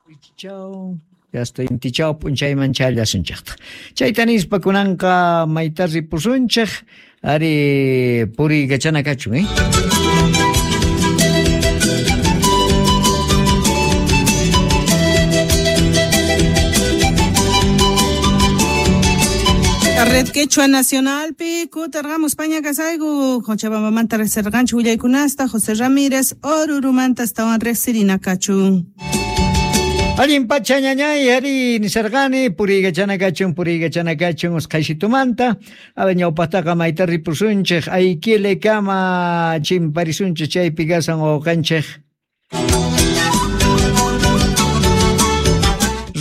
Wichichaw, hasta intichaw p'unchayman chayallasunchejtaj. Chayta nispa kunanqa mayta ripusunchej, ari puriykachana kachun, eh? Red Quechua Nacionalpi kutarqamus paña kasayku Cochabambamanta riqsirqanchik willaykunasta José Ramírez Orurumanta astawan riqsirina kachun. Allin pacha ñañay, ari nisarqani, puriykachana kachun, puriykachana kachun usqhaysitumanta. A ñawpaqtaqa mayta ripusunchej, Aiquile kama chimparisunchej chaypi kasan wawqanchej.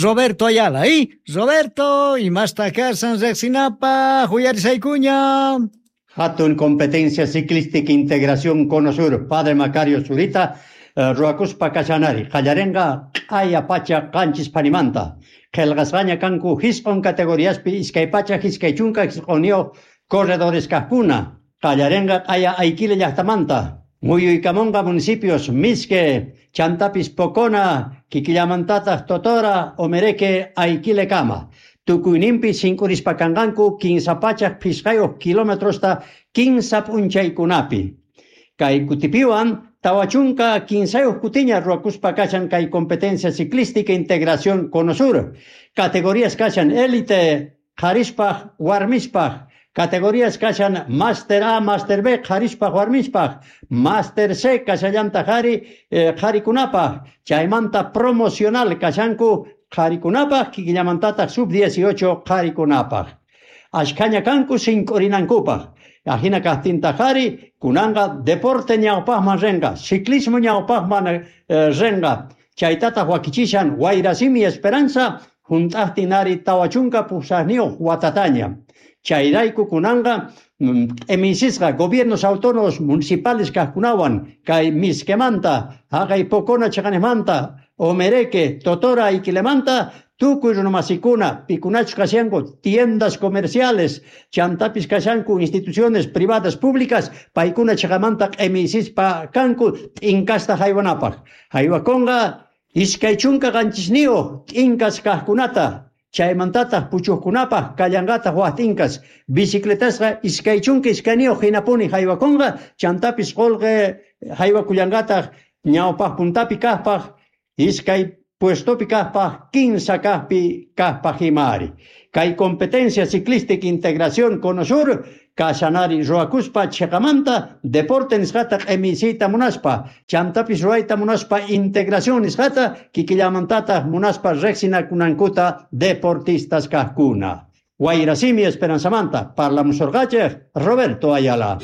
Roberto Ayala, ¿eh? Roberto, imasta kasan riqsinapaq, uyarisaykuña. Hatun Competencia Ciclística Integración Cono Sur, Padre Macario Zurita, ruwakuspa kashanari, qallarinqa q'aya pacha qanchis panimanta. Qillqasqaña kanku jisq'un categoriaspi iskay pacha iskay chunka jisq'unniyuq corredores kaqkuna. Qallarinqa q'aya Aiquile llaqtamanta. Muyuykamunqa municipios Misque, Chantapis Pocona, Kikillamantataq Totora, Omereque, Aiquile kama. Tukuyninpi sinkurispa kanqanku kinsa pachak phisqayuq kilometrosta kinsa p'unchaykunapi. Kay kutipiwan tawachunka kinsayuq kutiña ruwakuspa kashan kay competencia ciclística integración Cono Sur. Categorías kashan élite, qharispaq, warmispaq. Categorías kashan Master A, Master B, qharispaq, warmispaq. Master C kashallantaq ari, qharikunapaq. Chaymanta promocional kashanku qharikunapaq, kikillamantataq sub-18 qharikunapaq. Ashkhaña kanku sinkurinankupaq. Ajina kaqtintaq ari, kunanqa deporte ñawpaqman rinqa, ciclismo ñawpaqman rinqa. Chaytataq wakichishan Wayrasimi Esperanza, junt'aqtin ari tawachunka pusaqniyuq watataña. Chayrayku kunanqa, emisisqa gobiernos autónomos municipales kaqkunawan, kay Misquemanta, haqay Pocona chaqanejmanta, Omereque, Totora, Aiquilemanta, tukuy runamasikuna, pikunachus kashanku, tiendas comerciales, chantapis kashanku, instituciones privadas públicas, paykuna chaqamanta q'emisispa kanku, t'inkasta haywanapaq. Haywakunqa iskay chunka qanchisniyuq t'inkas kaqkunata, chaymantataq puchuqkunapaq kallanqataq waj t'inkas, bicicletasqa iskay chunka iskayniyuq hinapuni haywakunqa, chantapis qullqi haywakullanqataq ñawpaq puntapi kaqpaq, iskay puestopi kaqpaq, kinsa kaqpi kaqpaq imari. Kay competencia ciclística integración Cono Sur, kashanari ruwakuspa chiqamanta deporte nisqata q'imisiyta munaspa, chantapis ruwayta munaspa integración nisqata, kikillamantataq munaspa riqsinakunankuta deportistas kaqkuna. Wayrasimi Esperanzamanta, parlamusorqachej Roberto Ayala.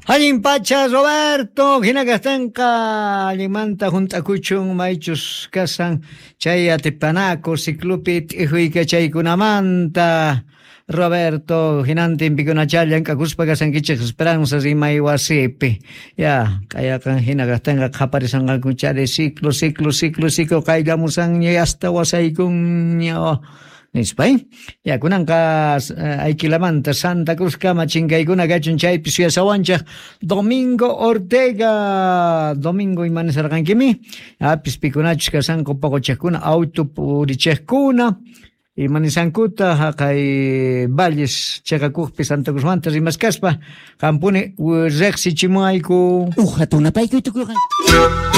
Allin pacha Roberto, hina kastanqa allinmanta junt'akuchun maychus kasan chay atipanaku ciclupi t'ijuykachaykunamanta. Roberto, hinantin pikunachá llank'akuspa kasankichej Esperanza rimay wasipi. Ya, k'ayaqan hina kastanqa qhaparisanqankuchari ciclo, ciclo, ciclo, ciclo qayllamusanña hasta wasaykunña. Nispa, ¿eh? Ya, kunanqa Aiquilamanta Santa Cruz kama chinkaykuna kachun chaypi suyasawanchej Domingo Ortega. Domingo imanisarqankimi? Apis pikunachus kasanku poqochejkuna, auto purichejkuna. Imanisankuta haqay Valles cheqakuqpi Santa Cruzmanta rimaskaspa qampuni riqsichimuayku. Uqa tunapaykuy tukurqan.